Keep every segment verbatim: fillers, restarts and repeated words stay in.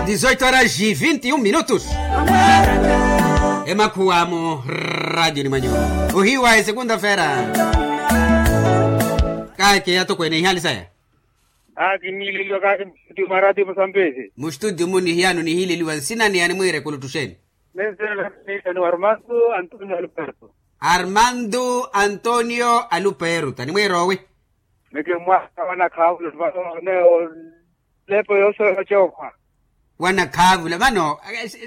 Dizoito horas e vinte e um minutos. Emakhuwa mu radio ni mwanyu. Ohiwa e segunda-feira. Kaeke atokwene ihali saya. Aa kinniileliwa kaake mustudio mwa radio musambisi. Mustudio muni hiyano nihileliwa nsina ni animwiire kulutuxeni. Nensina ni armando antonio aluperto. Armando antonio aluperto animwiire owi. Meke mwaka wanakhaavula vano ne olepo yoosoya ocookhwa. Wanakhaavula vano.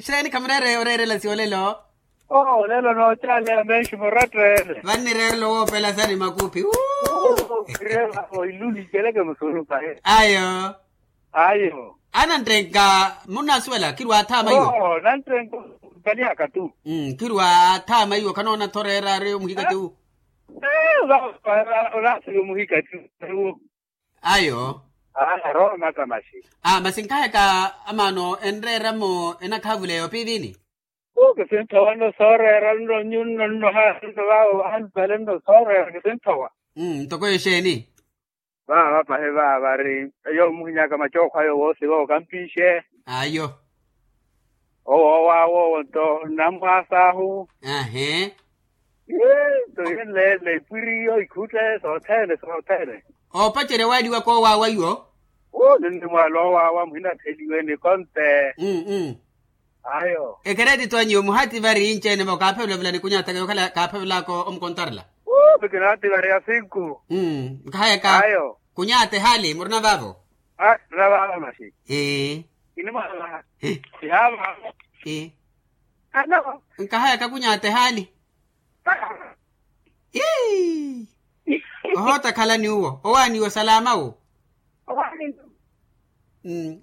Xeeni khamureere oreerela siolelo. Oo lelo noocaaleya menxi muratteele. Vannireerela owoopela sani makuphi. Oiluni iceleke musurupa he. Ayo. Ayo. Ananttenka munnasuwela khirwa athaama iwo. Oo nanttenka. Mpali aka tu. Khirwa athaama iwo khanoona-tho oreera ari omuhikati wu. Olaasiri omuhikati wu. Ayo. Aa roho maka maxi. Aa masi nkaheka amaano enreeramo enakhaavula eyo piivini. Kisinthowa nno sooreera nno nyunno nno haanno vaawo ahanipale nno sooreera kisinthowa. Ntoko exeeni. Vaava pahi vaava vari eyo omuhinyaka macookho ayo woosi vookampixe. Ayo. Owo owaawo owo nto nnamwaas'ahu. Ahe. Nto yenleele ipwiriyo ikhutte sothene sothene. Oopacerya waaliwaka owaawa iwo. Uu ninnimwaala owaawa muhinatheliwe nikonte. Ayo. Ekeretito anyu muhati vari inci-ene vo kaaphevelavela ni kunyataka yokhala kaaphevelaka omukontarela. Uu pikinati vari ya sinku. Nkahayaka. Ayo. Kunyata ehali murina vaavo. Aa murina vaavo maxi. Ee. Kinimwaala. Ee. Yaava. Ee. Ano. Nkahayaka kunyata ehali. Ii. Ohoota khalani uwo owaaniwa osalama wu.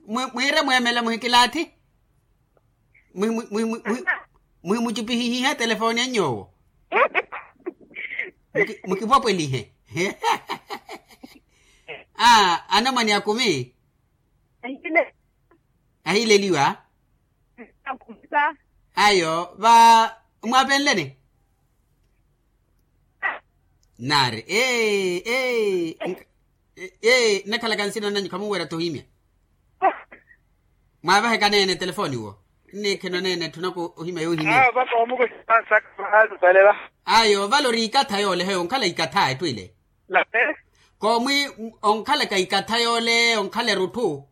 Mwiire mweemela muhikilaathi. Muhimucupihihiha telefooni anyu owo. Mukipwapwelihe. Aa anamwane akumi. Ahileliwa. Ayo va mwaapenleni. Naari ee ee. Ee nnakhalaka nsina nanyu khamunweera-tho ohimya. Mwaavaheka neene telefooni wo. Nnikheno neene etthu naku ohimya yoohimya. Ayo vale oriikatha yoole heyo onkhala ikatha etthu ile. Koomwi onkhalaka ikatha yoole onkhala erutthu.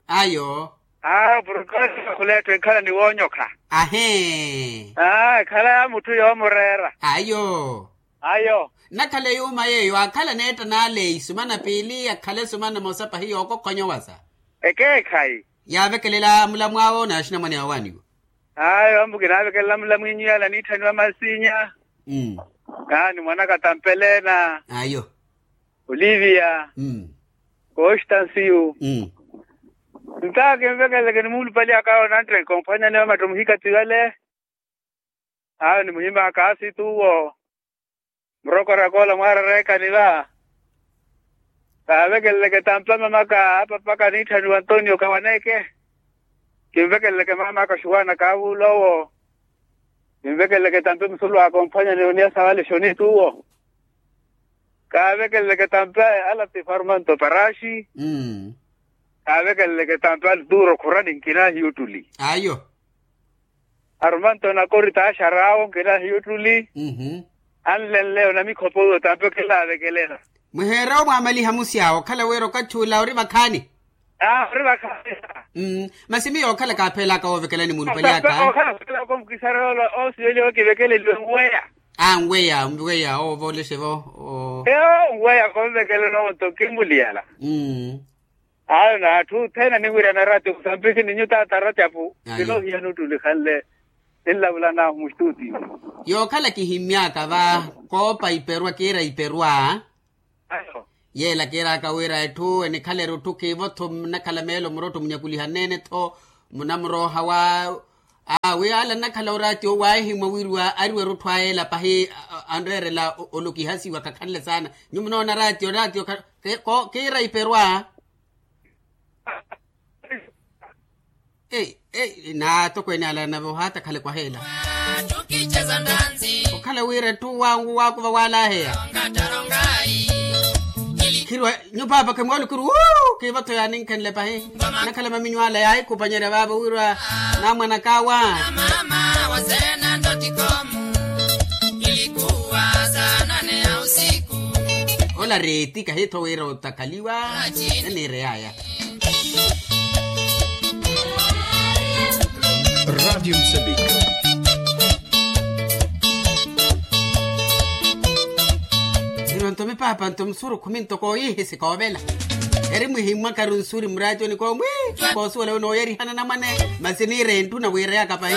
Ayo. Aa purukasi khula etthu enkhala ni woonyokha. Ahee. Aa ekhala ya mutthu yoomureera. Ayo. Ayo. Nnakhala eyuuma yeeyo aakhala neetta n'aleyi sumana piili akhale sumana mosa pahi yookokhwanya owasa. Ekeekhayi. Yaavekelela mulamu awo n'axinamwane awo aaniwo. Ayo ambu kinaavekelela mulamu inyu yala niitthaniwa masinya. Naani mwanaka tampelena. Ayo. Olivia. Constancio. Nta kinvekeleke ni muulupali aka onantteke omphwanyani wa matto muhikati wale. Ayo ni muhimaka asitu uwo. Murokoraka ola mwaarareekani va. Kaavekeleleke tampa mamaka apapaka niitthaniwa antonio kawaneke. Kinvekeleleke mamaka oxuwaana kaavuula owo. Kinvekeleleke tampa emusulu aka omphwanyani oniya sawale xonitu uwo. Kaavekeleleke tampa alatifa armanto paraxi. Kaavekeleleke tampa alturo khurani nkina ahiyuttuli. Ayo. Armanto nakorita axaraawo nkina ahiyuttuli. Anlenle onamikhopo uwo tampa okelaavekelela. Mwiheere omwaamaliha musi awo okhala wira okathi ula ori vakhaani. Aa ori vakhaani. Masi miyo okhala kaaphelaka woovekelani muulupali aka. Okhala okhala komukisarela oosiveliwa kivekeleliwe nweya. Aa nweya nweya oovoolexe vo. Eyo nweya konvekelelo onto kimuliyala. Ayo n'atthu othene aniwirana ratio kusampisi ni nyu taata ratyapu. Kinoohiya nuuttulikhanle ninlavulan'ahu mustutio. Yookhala kihimmy'aka va koopa iperwa kiira iperwa. Yeela kiir'aka wira etthu enikhala erutthu kiivo-tho nnakhala meelo murotto munyakuliha neene-tho munamurooha wa. Aa wi ala nnakhala oraatio waahimwa wiriwa ariwa erutthu ayeela pahi anreerela olokihasiwa khakhanle saana. Nyuwo munoona raatio raatio kiira iperwa. Ei ei naatokweene ala nave ohaatakhale kwaheela. Okhala wira etthu wangu waakuva waalaheya. Khirwa nyu paapa khimwali khiri wuu kiivatho yaaninkhenle pahi. Nakhala maminyu ala yaahikupanyerya vaavo wirwa namwanakawa. Ola reeti kahiitho wira otakaliwa. Niniireyaya. Radiyo musambiki. Iro nto mipaapa nto musuru khumi ntoko oyihi sikoovela. Eri mwihimmwakaru nsuri muraatiyoni koomwi. Koosuwela wi nooyerihana namwane. Masi niire enttu nawiireyaka pahi.